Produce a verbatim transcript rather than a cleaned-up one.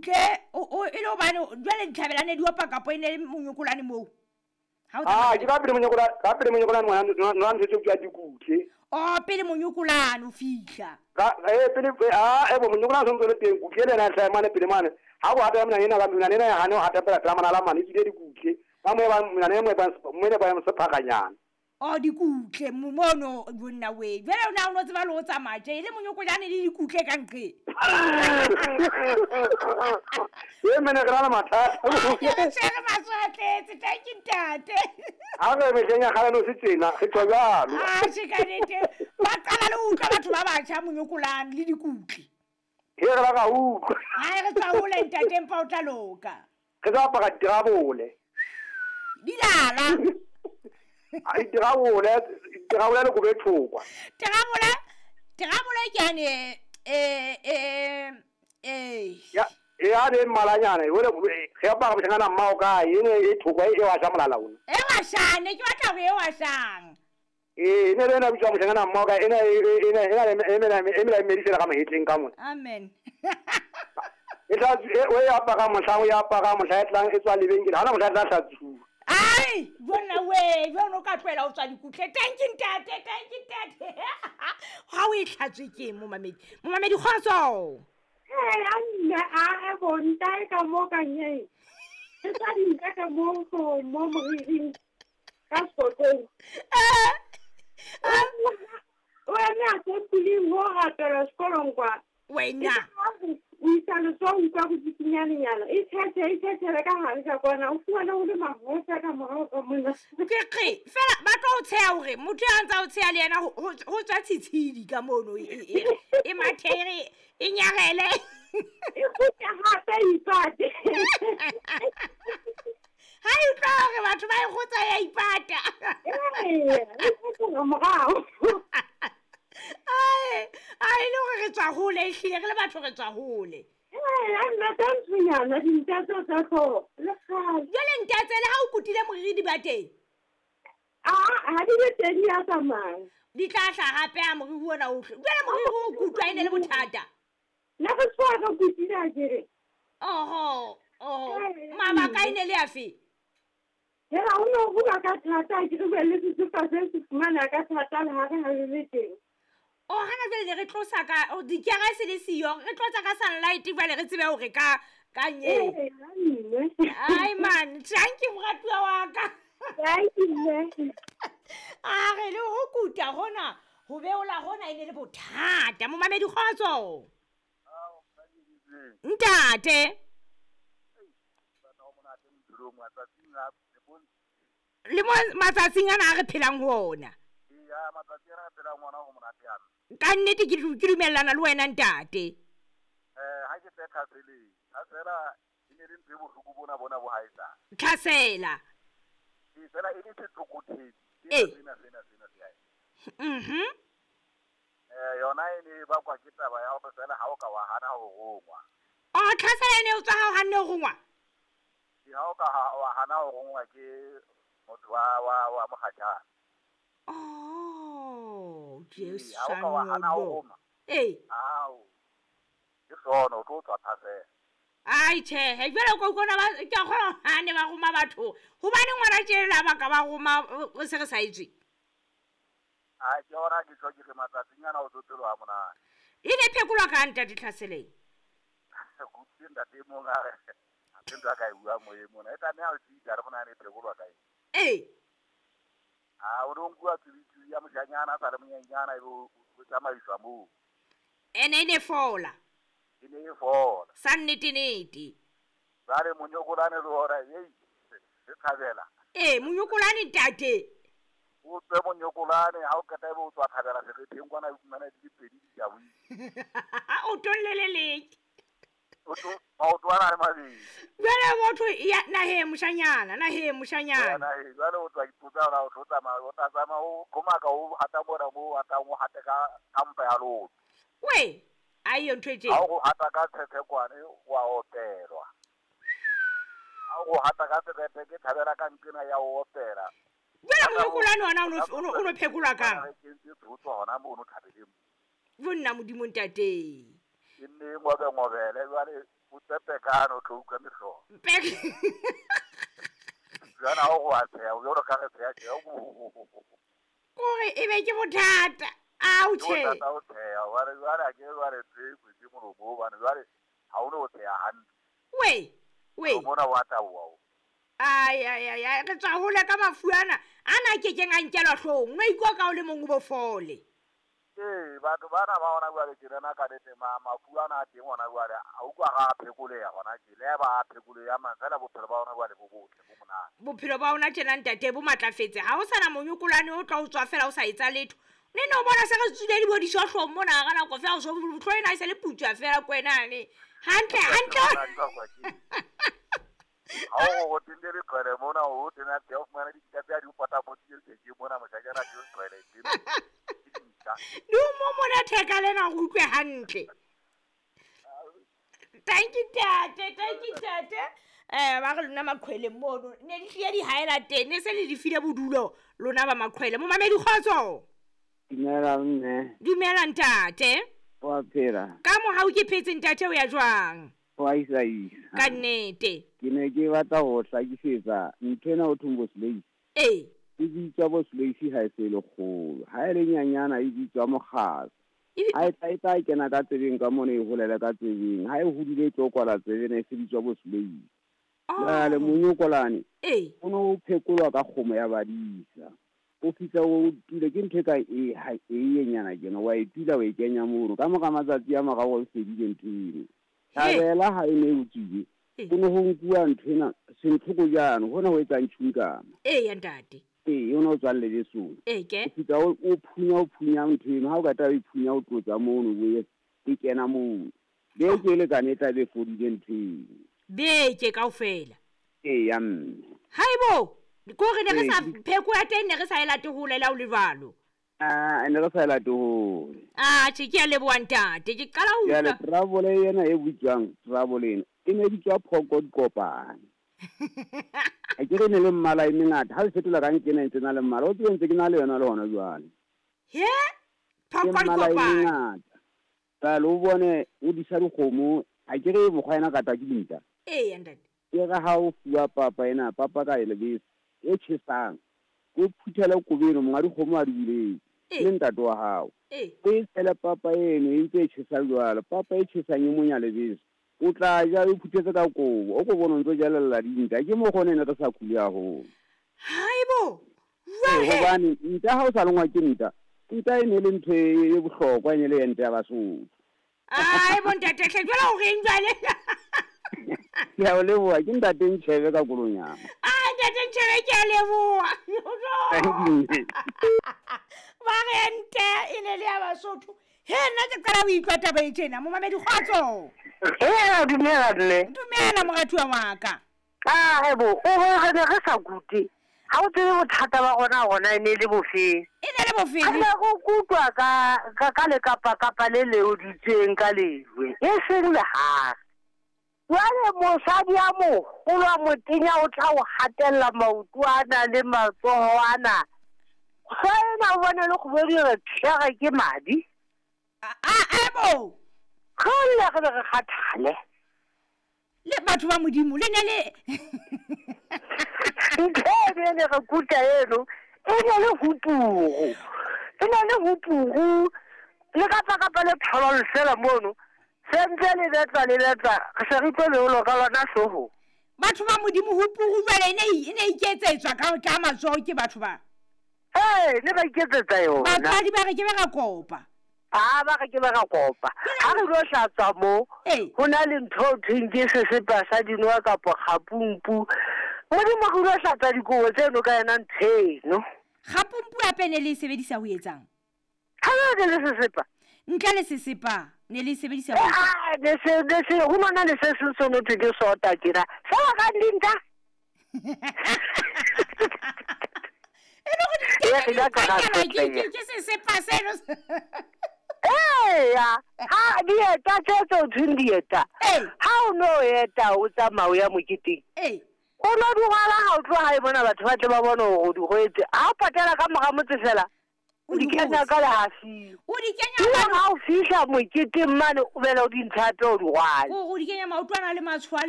Ke o o e le hobane jwale ditlhabelane di opa kapo e ne le monyokolane moo. Ha o Ah, tsamaya ke ka pele monyokolane, ka pele monyokolane ngwana nwa ntho tse bitswang dikutle. Oh, pele monyokolane o fihla. Ka eh pele ah e bo monyokolane o ntse le teng kutle le ena hlaha mane pele mane. Ha go hata mona ena ka mona ena ya hane o hata pela pela mana la mane tsile dikutle. Ba mo ba mona ne mo ba mo ne ba mo sephakanyana. Oh, dikutle mono bonna we. Jwale o na o no tseba le ho tsamaya tje e le monyokolane le dikutle ka nqe. E mene re na le mathata. Ke re tshwere maso a tletse, thank you ntate. Ha re mehleng ya kgale no se tjena, re tswa jwalo. Ah, tjhe ka nnete. Ba qala le ho utlwa batho ba batjha monyokolane le dikutle. He re ba ka utlwa. Ha re tswa hole ntate empa o tla loka. Re tla apara dirabole. Dilala. Ai dirabole, dirabole le kobe thokwa. Dirabole, dirabole ke ane eh eh eh. Ya, e a le mmalanyana, e wele re apara moshanyana mmao kae, e ne e thokwa e wa sha molala ona. E wa shane, ke batla hore e wa shang. Eh, ne le na bitswa moshanyana mmao kae, ena e ena ena e mela e mela e medisela ka mahetleng ka mona. Amen. E tla o e apara mohlang o e apara mohla e tlang e tswa lebenkele, ha ona mohla e tla hlatsuwa. Ai, bona we, jwale o ka tlohela ho tswa dikutle. Thank you ntate, thank you ntate. Ha o e hlatswe ke momamedi. Momamedi kgotso. Eh, a nna a e bontae ka mo ka nyeng. Ke tsa dinka ka mo go mo moriring ka sekotong. Eh. O eme a se puleng ho rapela sekolong kwa. Wena. O isa letsoho utlwa go tsikinyanenyana. E thethe, e thethele ka hare ka kwana. O fumana ho le mahosa ka morao ka mona. Ke qe, fela ba tlo o tsheha hore motho ya ntsa o tsheha le yena ho ho tswa tshitshidi ka mono e e e mathere e nyarele. E kgutla hape e ipate. Ha e utlwa hore batho ba e kgotsa ya ipata. Ee, e kgutla morao. Ai, ai le hore re tswa hole ehlile re le batho re tswa hole. Ee, a nna ka ntshonyana dinta tseo tsa hlooho le kgale. Jwale ntatse le ha o kutile moriri di ba teng? Ah, ha di be teng di a tsamaya. Di tla hlaha hape ha moriri ona o hle. Jwale moriri o kutwa e ne le bothata. Ne re tswa re kutile akere. Oho, oho. Mabaka e ne le afe? Hela o no hula ka thata ke re be le sesepa se se fumana ka thata le ha re ha re le teng. Oh, hana jwale ne re tlosa ka oh, dikere se le siyo, re tlotsa ka sunlight jwale re tsebe hore ka ka nye. Ai man, thank you moratuwa wa ka. Thank you mme. A re le ho kuta hona, ho beola hona e ne le bothata. Momamedi kgotso. Ntate. Le mo matsatsing ana a re phelang ho ona. Ya matsatsi a re phelang ho ona ho monate yana. Ka nnete ke ke dumellana le wena ntate. Eh, ha ke tle tlhaseleng. Tlhasela e ne le ntho e bohloko bona bona bo haesa. Tlhasela. E fela e le setlokothedi. Eh. Sena sena sena se hae. Mhm. Eh, yona e ne ba kwa ke taba ya hore fela ha o ka wa hana ho rongwa. Oh, tlhasela e ne o tswa ha o hanne ho rongwa? Ke ha o ka wa hana ho rongwa ke motho wa wa wa mokgatjana. Oh, Jesu. Ha o ka wa hana ho roma. Eh. Ao. Ke sona o tlo tswa tlhasela. Ai tjhe, jwale ko kona ba ke a kgona ha ne ba roma batho. Hobane ngwana tjela ba ka ba roma o se re sa itswe. Ai ke ona ke tlo ke re matsatsing ana o tlo ha monate. E ne phekolwa ka ntate tlhaseleng. Go tse ntate mong a re. A tse nka ka e bua moyeng mona. E tlameha ho tsitsa re mona ne phekolwa ka eng. Eh. Ah, o no nkuwa tswitsi ya mojanyana sa le monyenyana e bo o tsamaiswa moo. Ene ne fola. E ne e fola. Sa nnete nnete. Jwale monyokolane le hora ei re thabela. Eh, monyokolane ntate. O tswe monyokolane ha o qeta ebe o tswa thabela seretheng kwana o fumana di le pedi di a buile. O tolleleleke. O to maoto ana a le mabedi. Jwale motho ya naheng moshanyana, naheng moshanyana. Naheng, jwale o tswa ipotsa hore o tlo tsamaya, o tla tsamaya o qhomaka o hata mona moo o hatang o hate ka ka mpa ya lotho. We, a iyo ntho e tjena. Ha o hata ka tshethekwane wa opelwa. Ha o hata ka serethe ke thabela ka nqena ya o opela. Jwale monyokolane ona o no o no phekolwa kang? Ke ntse tsotso hona mono thabeleng. Bonna Modimo ntate. Ke nne ngobe ngobele jwale O tsepekano tlo utlwa mehlolo. Jana o go a tsheya, o jalo ka re tsheya tjhe. Kore e be ke bothata. Ao tjhe. Bothata o tsheya, wa re jwale a ke jwale tse kwetse molomo hobane jwale ha o no tsheya hantle. We, we. O bona wa taboha o. Ai ai ai ai re tswa hole ka mafu ana. Ana ke keng a nkelwa hloohong. No ikwa ka o le mong o bo fole. Ee, batho bana ba hona jwale tjena ka nnete mafu ana a teng hona jwale a utlwa ga a phekoleha hona tje. Le ba a phekoleha mang fela bophelo ba hona jwale bo botle bo monate. Bophelo ba hona tjena ntate bo matlafetse. Ha ho sana monyokolwane o tla o tswa fela o sa etsa letho. Ne no bona se re tswile di bo dishohlong mona ka nako fela o so tlo ena e se le putswa fela kwenane. Hantle hantle. Ha o go tende le qhwele mona o tena tse o fumana ditaba tsa di o potapotile ke mona moshanyana ke o qhwele teng. Di o mo mona theka lena go utlwe hantle. Thank you tate, thank you tate. Eh ba re lona maqhwele mono ne di tlile di haela teng ne se le di file bodulo lona ba maqhwele. Momamedi kgotso. Dumela mme. Dumela ntate. Wa phela. Ka mohau ke phetse ntate o ya jwang? Wa isa isa. Ka nnete. Ke ne ke batla ho hlakisetsa ntho ena o thong bo slave. Ee. E bitswa bo slave ha e se le kgolo. Ha e le nyanyana e bitswa mokgatlo. Ha e tla e tla kena ka tsebeng ka mona e holela ka tsebeng. Ha e hodile e tlo kwala tsebeng e se bitswa bo slave. Jwale monyokolane. Ee. O no phekolwa ka kgomo ya badisa. O fihla o tule ke ntho e ka e ha e yenyana kena wa e tula wa e kenya mono ka mora matsatsi a mararo o fedile ntho eno. Thabela ha e ne o tswile. Ho no ho nkuwa ntho ena sentlhoko jano hona ho etsang tjhunkama. Ee ntate. Ee o no tswa lebesong. Ee ke. O fihla o phunya o phunya ntho eno ha o ka tla o phunya o tlotsa mono o e e kena mono. Beke le kana e tla be fodile ntho eno. Beke kaofela. Ee ya mme. Haibo. Ko re ne re sa pheko ya teng ne re sa e late hole la o le jwalo. Ah, ne re sa e late hole. Ah, tjhe ke a leboha ntate. Ke qala ho utlwa. Jwale trouble ena e bitswang trouble ena e ne bitswa phoko dikopane. A ke re ne le mmala e mengata ha le fetola ka nkena ntse na le mmala o tsebe ntse ke na le yona le hona jwale. He? Phoko dikopane. Jwale o bone o disa dikgomo a ke re mokgwa ena kata ke dinta. Ee ntate. Ke re ha o fuwa papa ena papa ka e lebese e tjhesang o phuthele kobeno monga dikgomo a di buletse le ntate wa hao. O e tshele papa eno e ntse e tjhesa jwalo papa e tjhesang e monya lebese o tla ja o phuthetse ka kobo o ko bona o ntso jalella dinta ke mo gone ne re sa khule haholo. Haibo. Hobane nta ha o sa lengwa ke nta nta e ne le ntho e bohlokwa e ne le ente ya Basotho. Ai bo ntate hle jwale o reng jwale? Ke a o leboha ke ntate Ntjhebe ka kolonyana. Ai ntate Ntjhebe ke a leboha. Ba re nte e ne le ya Basotho. He nna ke qala ho utlwa taba e tjena momamedi kgotso. Ee dumela mme. Dumela moratuwa wa ka. Ah hebo o re ne re sa kute. Ha o tsebe bothata ba rona hona e ne le bofeng. E ne le bofeng. Ha ne go kutwa ka ka ka le kapa kapa le leoditsweng ka lejwe. E seng le ha. Jwale mosadi a moholo a motenya o tla o hatella maoto ana le matsoho ana. Ena o bone le kgobedi re tlhere ke madi. A a bo. Kgole re re kgathale. Le batho ba Modimo le ne le ntho e ne re kuta eno e ne le hupugu. E ne le hupugu le kapa kapa le thololo fela mono. Sentse le betla le betla re se re tlo leolo ka lona hlooho. Batho ba Modimo hupugu jwale e ne e ne iketsetswa ka ka matsoho ke batho ba. Ee ne ba iketsetsa yona. Batswadi ba re ke ba ra kopa. Ah ba re ke ba ra kopa. Ha re lo hlatswa mo ho na le ntho o thweng ke sesepa sa dinowa kapa kgapumpu. Modimo re lo hlatsa dikobo tseno ka yona ntho eno. Kgapumpu hape ne le e sebedisa ho etsang? Ha le le sesepa. Ntle le sesepa ne le sebedisa ho Ah ne se ne se ho na le se seng se no thwe ke sota tjena. Fela ka dinta. E le hore di ke sesepa seno. Ee ya ha dieta tse tse thweng dieta. Ha o no eta o tsamaya o ya moketeng. Ee. O no di rwala ha o tloha hae mona batho ba tle ba bone hore o di rwetse. Ha o patela ka mora motse fela. O di kenya ka lehafing. O di kenya Ebile mane ha o fihla moketeng mane o bela o di ntsha hape o di rwale. o di kenya maotwana le matshwao a le